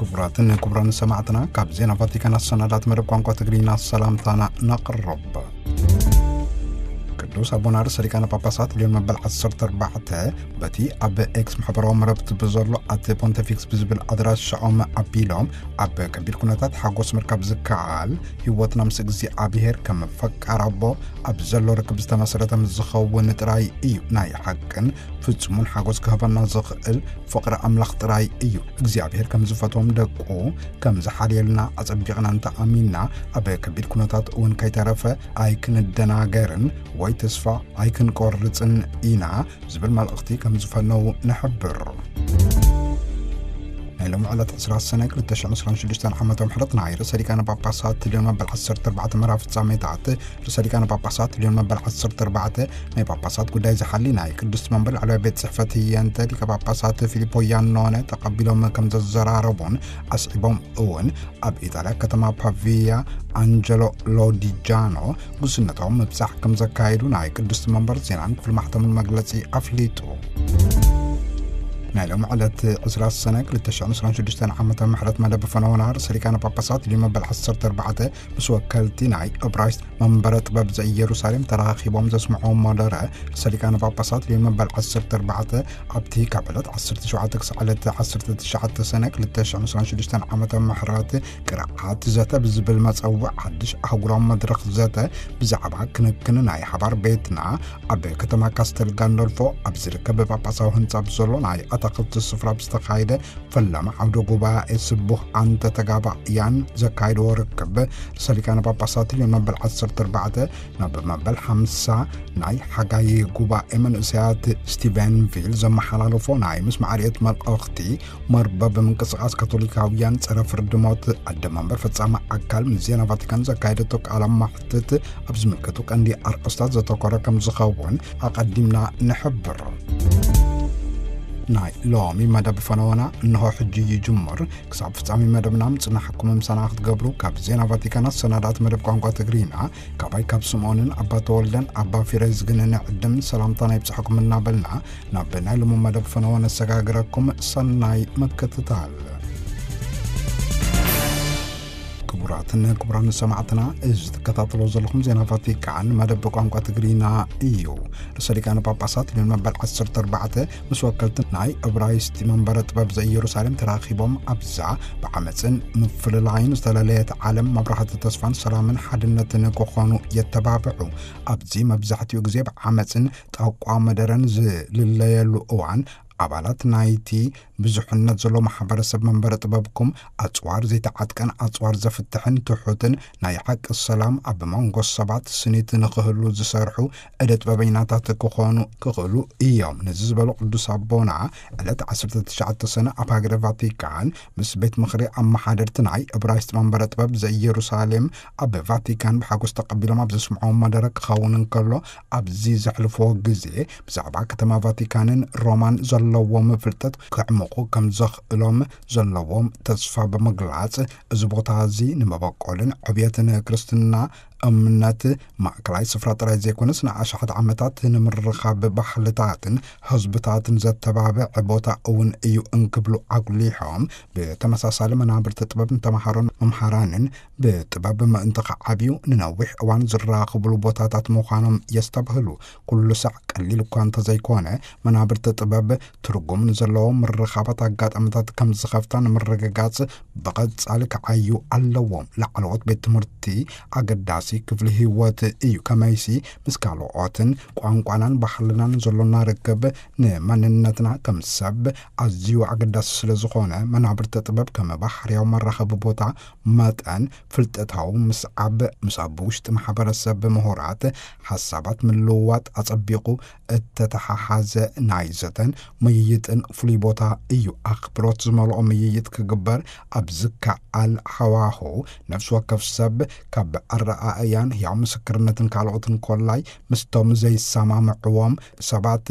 ክቡራትን ክቡራን ሰማዕትና፣ ካብ ዜና ቫቲካን ኣሰናዳት መደብ ቋንቋ ትግርኛ ሰላምታና ነቕርብ። ቅዱስ ኣቦና ርእሰ ሊቃነ ጳጳሳት ሊዮን መበል ዓሰርተ ኣርባዕተ በቲ ኣብ ኤክስ ማሕበራዊ መረብቲ ብዘሎ ኣት ፖንቲፊክስ ብዝብል ኣድራሻኦም ኣቢሎም፣ ኣብ ከቢድ ኩነታት ሓጎስ ምርካብ ዝከኣል ህይወትና ምስ እግዚኣብሔር ከም ፈቃር ኣቦ ኣብ ዘሎ ርክብ ዝተመሰረተ ምስ ዝኸውን ጥራይ እዩ ናይ ሓቅን ፍጹምን ሓጎስ ክህበና ዝኽእል ፍቕሪ ኣምላኽ ጥራይ እዩ። እግዚኣብሔር ከም ዝፈትዎም ደቁ ከም ዝሓልየልና ኣጸቢቕና እንተ ኣሚንና፣ ኣብ ከቢድ ኩነታት እውን ከይተረፈ ኣይክንደናገርን ወይ ተስፋ ኣይክንቆርጽን ኢና ዝብል መልእኽቲ ከም ዝፈነዉ ንሕብር። ናይ ሎሚ ዕለት ዕስራ ሰነ ክልተ ሽሕን ዕስራን ሽዱሽተን ዓመተ ምሕረት ናይ ርእሰ ሊቃነ ጳጳሳት ሊዮን መበል ዓሰርተ ኣርባዕተ መርሃ ፍጻሜታት ርእሰ ሊቃነ ጳጳሳት ሊዮን መበል ዓሰርተ ኣርባዕተ ናይ ጳጳሳት ጉዳይ ዝሓሊ ናይ ቅድስቲ መንበር ላዕለዋይ ቤት ጽሕፈት ህየንተ ሊቀ ጳጳሳት ፊሊፖ ያኖነ ተቐቢሎም ከም ዘዘራረቡን ኣስዒቦም እውን ኣብ ኢጣልያ ከተማ ፓቪያ ኣንጀሎ ሎዲጃኖ ጉስነቶም ምብጻሕ ከም ዘካየዱ ናይ ቅድስቲ መንበር ዜናን ክፍሊ ማሕተምን መግለጺ ኣፍሊጡ። ናይ ሎሚ ዕለት ዕስራ ሰነ ክልተ ሽሕን ዕስራን ሽዱሽተን ዓመተ ምሕረት መደብ ፈነወና ርእሰ ሊቃነ ጳጳሳት ሊዮን መበል ዓሰርተ ኣርባዕተ ምስ ወከልቲ ናይ እብራይስጥ መንበረ ጥበብ ዘኢየሩሳሌም ተራኺቦም ዘስምዕዎ መደረ ርእሰ ሊቃነ ጳጳሳት ሊዮን መበል ዓሰርተ ኣርባዕተ ኣብቲ ካብ ዕለት ዓሰርተ ሸውዓተ ክሳዕ ዕለት ዓሰርተ ትሽዓተ ሰነ ክልተ ሽሕን ዕስራን ሽዱሽተን ዓመተ ምሕረት ቅርዓት ዘተ ብዝብል መጸውዕ ሓድሽ ኣህጉራዊ መድረኽ ዘተ ብዛዕባ ክንክን ናይ ሓባር ቤትና ኣብ ከተማ ካስተል ጋንዶልፎ ኣብ ዝርከብ ጳጳሳዊ ህንጻ ብዘሎ ናይ ኣታኽልቲ ስፍራ ብዝተኻየደ ፈላሚ ዓውደ ጉባኤ ስቡህ ኣንተ ተጋባእያን ዘካየድዎ ርክብ ርእሰ ሊቃነ ጳጳሳት ሊዮን መበል ዓሰርተ ኣርባዕተ ናብ መበል ሓምሳ ናይ ሓጋይ ጉባኤ መንእሰያት ስቲቨንቪል ዘመሓላለፎ ናይ ምስማዕ ርእየት መልእኽቲ መርበብ ምንቅስቃስ ካቶሊካውያን ጸረ ፍርዲ ሞት ኣደ መንበር ፈጻሚ ኣካል ምስ ዜና ቫቲካን ዘካየደቶ ቃለ መሕትት ኣብ ዝምልከቱ ቀንዲ ኣርእስታት ዘተኮረ ከም ዝኸውን ኣቐዲምና ንሕብር። ናይ ሎሚ መደብ ፈነወና እንሆ ሕጂ ይጅምር። ክሳብ ፍጻሜ መደብና ምጽናሕኩም ምሳና ክትገብሩ ካብ ዜና ቫቲካን ኣሰናዳእቲ መደብ ቋንቋ ትግርኛ ካባይ ካብ ስምኦንን ኣባ ተወልደን ኣባ ፊሬዝግን ንዕድም ሰላምታና ይብጽሕኩም እናበልና ናብ ናይ ሎሚ መደብ ፈነወ ነሰጋግረኩም። ሰናይ ምክትታል። ክቡራትን ክቡራን ሰማዕትና፣ እዚ ትከታተሎ ዘለኹም ዜና ቫቲካን መደብ ቋንቋ ትግርኛ እዩ። ርእሰ ሊቃነ ጳጳሳት ሊዮን መበል ዓሰርተ ኣርባዕተ ምስ ወከልቲ ናይ እብራይስጢ መንበረ ጥበብ ዘኢየሩሳሌም ተራኺቦም ኣብዛ ብዓመፅን ምፍልላይን ዝተለለየት ዓለም መብራህቲ ተስፋን ሰላምን ሓድነትን ክኾኑ የተባብዑ። ኣብዚ መብዛሕትኡ ግዜ ብዓመፅን ጠቋ መደረን ዝልለየሉ እዋን ኣባላት ናይቲ ብዙሕነት ዘሎ ማሕበረሰብ መንበረ ጥበብኩም ኣጽዋር ዘይተዓጥቀን ኣጽዋር ዘፍትሕን ትሑትን ናይ ሓቂ ሰላም ኣብ መንጎ ሰባት ስኒት ንኽህሉ ዝሰርሑ እደ ጥበበኛታት ክኾኑ ክኽእሉ እዮም። ነዚ ዝበሉ ቅዱስ ኣቦና ዕለት ዓሰርተ ትሽዓተ ሰነ ኣብ ሃገረ ቫቲካን ምስ ቤት ምኽሪ ኣመሓደርቲ ናይ እብራይስጥ መንበረ ጥበብ ዘኢየሩሳሌም ኣብ ቫቲካን ብሓጎስ ተቐቢሎም ኣብ ዘስምዕዎ መደረ ክኸውን እንከሎ ኣብዚ ዘሕልፍዎ ግዜ ብዛዕባ ከተማ ቫቲካንን ሮማን ዘለዎም ፍልጠት ከዕምቑ ከም ዘኽእሎም ዘለዎም ተስፋ ብምግላጽ፣ እዚ ቦታ እዚ ንመበቆልን ዕብየትን ክርስትና እምነት ማእከላይ ስፍራ ጥራይ ዘይኮነስ ንኣሽሓት ዓመታት ንምርኻብ ባህልታትን ህዝብታትን ዘተባብዕ ቦታ እውን እዩ እንክብሉ ኣጉሊሖም፣ ብተመሳሳሊ መናብርቲ ጥበብ ንተምሃሮን መምሃራንን ብጥበብ ምእንቲ ከዓብዩ ንነዊሕ እዋን ዝራኸብሉ ቦታታት ምዃኖም የስተብህሉ። ኩሉ ሳዕ ቀሊል እኳ እንተዘይኮነ፣ መናብርቲ ጥበብ ትርጉም ንዘለዎም ምርኻባት ኣጋጣሚታት ከም ዝኸፍታ ንምርግጋጽ ብቐጻሊ ክዓዩ ኣለዎም። ላዕለዎት ቤት ትምህርቲ ኣገዳሲ ክፍሊ ህይወት እዩ። ከመይሲ ምስ ካልኦትን ቋንቋናን ባህልናን ዘሎና ርክብ ንመንነትና ከም ሰብ ኣዝዩ ኣገዳሲ ስለ ዝኾነ፣ መናብርቲ ጥበብ ከም ባህርያዊ መራኸቢ ቦታ መጠን ፍልጠታዊ ምስዓብ፣ ምስ ኣብ ውሽጢ ማሕበረሰብ ምሁራት ሓሳባት ምልውዋጥ ኣጸቢቑ እተተሓሓዘ ናይ ዘተን ምይይጥን ፍሉይ ቦታ እዩ። ኣኽብሮት ዝመልኦ ምይይጥ ክግበር ኣብ ዝከኣል ሃዋሁ፣ ነፍሲ ወከፍ ሰብ ካብ ኣረኣእያን ህያው ምስክርነትን ካልኦትን ኮላይ ምስቶም ዘይሰማምዕዎም ሰባት